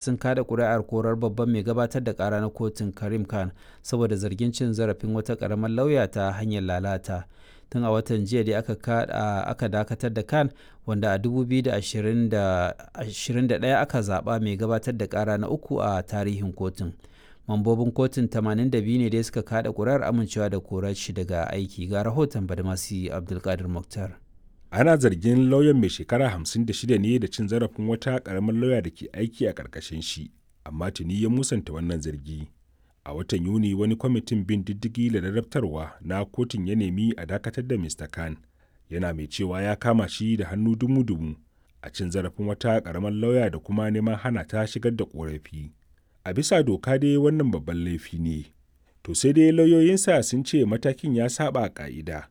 Sun kada kuri'ar korar babban mai gabatar da kara na kotun, Karim Khan, saboda zargin cin zarafin wata karamar lauya ta hanyar lalata. Tun a watan jiya dai aka dakatar da Khan, wanda a 2021 aka zaba mai gabatar da kara na uku a tarihin kotun. Mambobin kotun 82 ne dai suka kada kuri'ar amincewa da korar shi daga aiki. Ga rahoton Badamasi Abdulkadir Mukhtar. Ana zargin lauyan mai shekara 56 ne da cin zarafin wata karamar lauya da ke aiki a ƙarƙashin shi, amma tuni ya musanta wannan zargi. A watan Yuni wani kwamitin bin diddigi da ladabtarwa na kotun ya nemi a dakatar da Mr. Khan, yana mai cewa ya kama shi da hannu dumu-dumu a cin zarafin wata karamar lauya da kuma neman hana ta shigar da korafi. A bisa doka dai wannan babban laifi ne. To sai dai lauyoyinsa sun ce matakin ya saba ka'ida.